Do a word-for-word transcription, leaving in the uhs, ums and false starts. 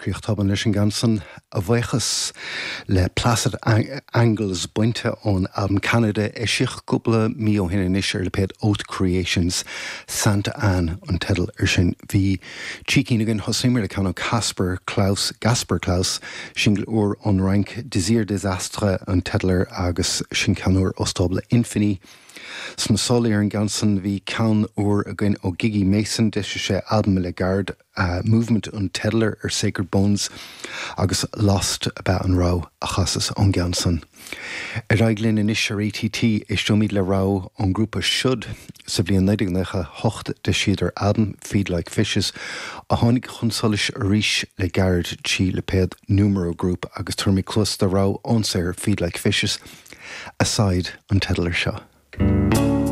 Críoch tobann leis an gceann san a bhuíochas le Placid Angles bainte ón albam Canada eisíodh cúpla mí ó shin anois ar lipéad Oath Creations Santa Anne an teideal ar sin. Bhí trí cinn againn thosaíomar le ceann ó Casper Klaus Gaspar Claus singil úr ón Fhrainc Désir Désastre an teideal air agus sin ceann úr ó stábla Infini. Sna sála ar an gceann san bhí ceann úr againn ó Gigi Masin d'eisigh sé albam le gairid uh, Movement an teideal air ar Sacred Bones agus Lost ab ea an rogha a chasas ón gceann san. Ar aghaidh linn anois ar ATT éisteoimid le rogha ón ngrúpa Should sa bhliain naoi déag nócha hocht d'eisíodar albam Feed Like Fishes a tháinig chun solais arís le gairid trí lipéad Numero Group agus tabharfaimid cluas do rogha ón saothar Feed Like Fishes Aside an teideal air seo.